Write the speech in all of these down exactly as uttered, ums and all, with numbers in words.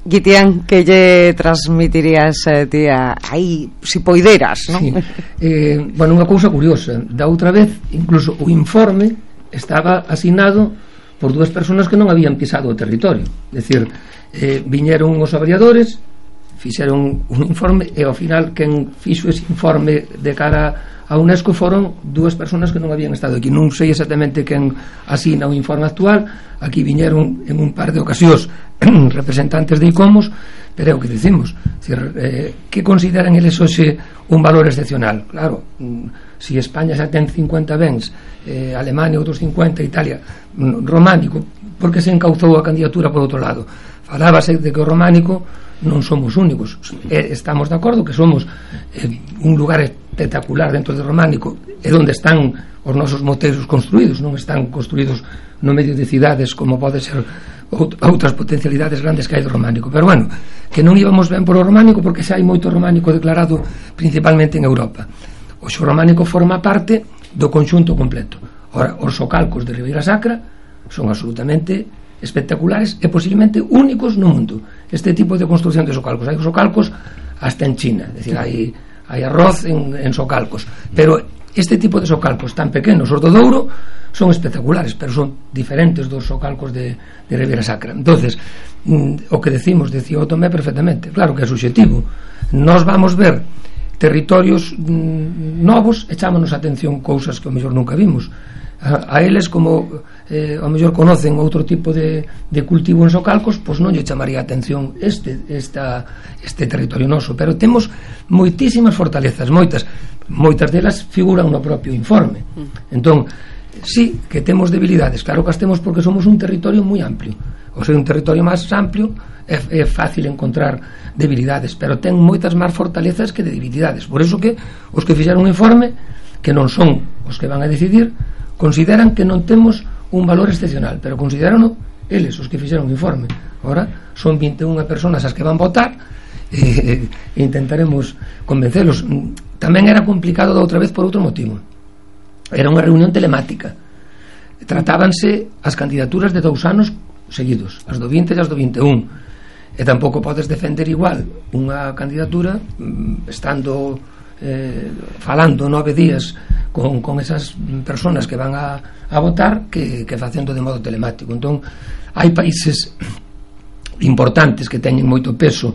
Guitián, que lle transmitirías eh, tía, aí, si poideras, non? Sí. Eh, bueno, unha cousa curiosa, da outra vez incluso o informe estaba asignado por dúas persoas que non habían pisado o territorio, é dicir, eh, viñeron os avaliadores, fixeron un informe e ao final quen fixo ese informe de cara a UNESCO foron dúas persoas que non habían estado aquí. Non sei exactamente quen asina o informe actual, aquí viñeron en un par de ocasións representantes de ICOMOS, pero é o que dicimos, decir, eh, que consideran eles hoxe un valor excepcional. Claro, si España xa ten cincuenta bens, eh, Alemania outros cincuenta, Italia románico, porque se encauzou a candidatura por outro lado. Falábase de que o románico non somos únicos, eh, estamos de acordo que somos eh, un lugar espectacular dentro do románico, é onde están os nosos moteiros construídos, non están construídos no medio de cidades como pode ser outras potencialidades grandes que hai do románico, pero bueno, que non íbamos ben por o románico porque xa hai moito románico declarado principalmente en Europa. O xo románico forma parte do conxunto completo. Ora, os socalcos de Ribeira Sacra son absolutamente espectaculares e posiblemente únicos no mundo. Este tipo de construcción de socalcos, hai socalcos hasta en China, é dicir, hai, hai arroz en, en socalcos, pero este tipo de socalcos tan pequenos, os do Douro, son espectaculares, pero son diferentes dos socalcos de, de Ribeira Sacra. Entonces, mm, o que decimos, decía o Tomé perfectamente, claro que é subxetivo, nós vamos ver territorios mm, novos, echámonos atención cousas que o mellor nunca vimos, a, a eles como eh, ao mellor conocen outro tipo de, de cultivo en socalcos, pois non lle chamaría a atención este, esta, este territorio noso, pero temos moitísimas fortalezas, moitas moitas delas figuran no propio informe. Entón, sí que temos debilidades, claro que as temos porque somos un territorio moi amplio, ou ser un territorio máis amplio é, é fácil encontrar debilidades, pero ten moitas máis fortalezas que debilidades. Por eso que os que fixeron un informe, que non son os que van a decidir, consideran que non temos un valor excepcional, pero consideraron eles os que fixeron o informe. Ahora son vinte e unha personas as que van votar e, e intentaremos convencelos. Tamén era complicado da outra vez por outro motivo, era unha reunión telemática, tratábanse as candidaturas de dous anos seguidos, as do vinte e as do vinte e un, e tampouco podes defender igual unha candidatura estando eh, falando nove días con, con esas personas que van a, a votar que, que facendo de modo telemático. Entón, hai países importantes que teñen moito peso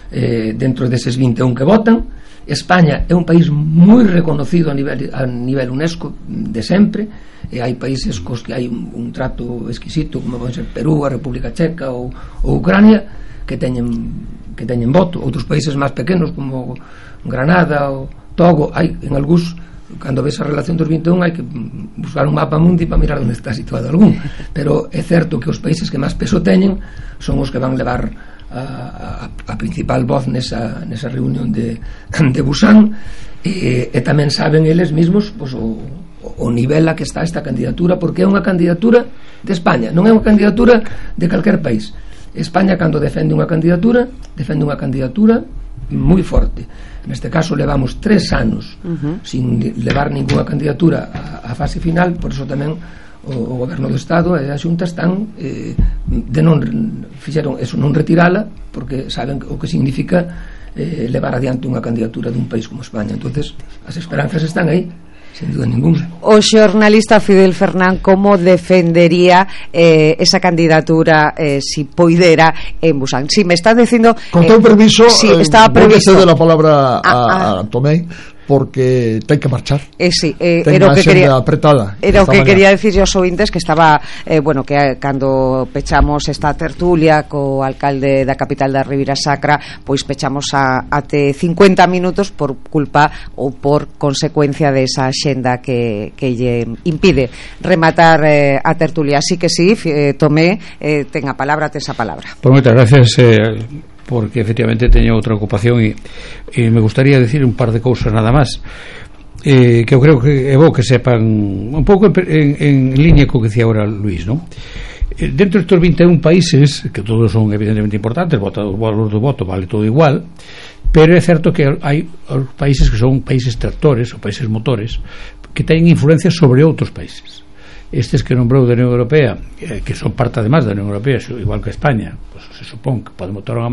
eh, dentro deses vinte e un que votan. España é un país moi reconocido a nivel, a nivel UNESCO de sempre, e hai países cos que hai un, un trato exquisito como pode ser Perú, a República Checa ou, ou Ucrania, que teñen que teñen voto. Outros países máis pequenos como Granada ou Togo, hai en algúns, cando ves a relación dos vinte e un hai que buscar un mapa mundi para mirar onde está situado algún, pero é certo que os países que máis peso teñen son os que van levar a, a, a principal voz nesa, nesa reunión de, de Busan, e, e tamén saben eles mesmos pois, o, o nivel a que está esta candidatura, porque é unha candidatura de España, non é unha candidatura de calquer país. España, cando defende unha candidatura, defende unha candidatura moi forte. Neste caso levamos tres anos uh-huh. sin levar ninguna candidatura á fase final, por iso tamén o, o Goberno do Estado e a Xunta están eh, de non fixeron eso, non retirala, porque saben o que significa eh, levar adiante unha candidatura dun país como España. Entonces as esperanzas están aí, sin duda ninguna. O xornalista Fidel Fernán, como defendería eh, esa candidatura eh, si poidera en Busan? Si me estás dicindo... Con todo eh, permiso, sí, eh, estaba previsto. voy a ceder la palabra a, ah, a Tomé, porque ten que marchar. Eh, sí, eh, ten era o que quería apretada. Era o que mañana. Quería decir aos ouvintes que estaba eh, bueno, que cando pechamos esta tertulia co alcalde da capital da Ribeira Sacra, pois pechamos a até cincuenta minutos por culpa ou por consecuencia desa xenda que, que lle impide rematar eh, a tertulia. Así que sí, eh, Tomé, eh, ten a palabra, tes a palabra. Pues moitas gracias, eh, porque efectivamente teño outra ocupación e, e me gustaría decir un par de cousas nada máis, eh, que eu creo que é bo que sepan un pouco en, en, en línea co que decía ahora Luís, ¿no? Eh, dentro destes vinte e un países, que todos son evidentemente importantes, o valor do voto vale todo igual, pero é certo que hai países que son países tractores ou países motores que teñen influencia sobre outros países. Estes que nombrou da Unión Europea, eh, que son parte además da Unión Europea, igual que España, pues, se supón que podemos votar a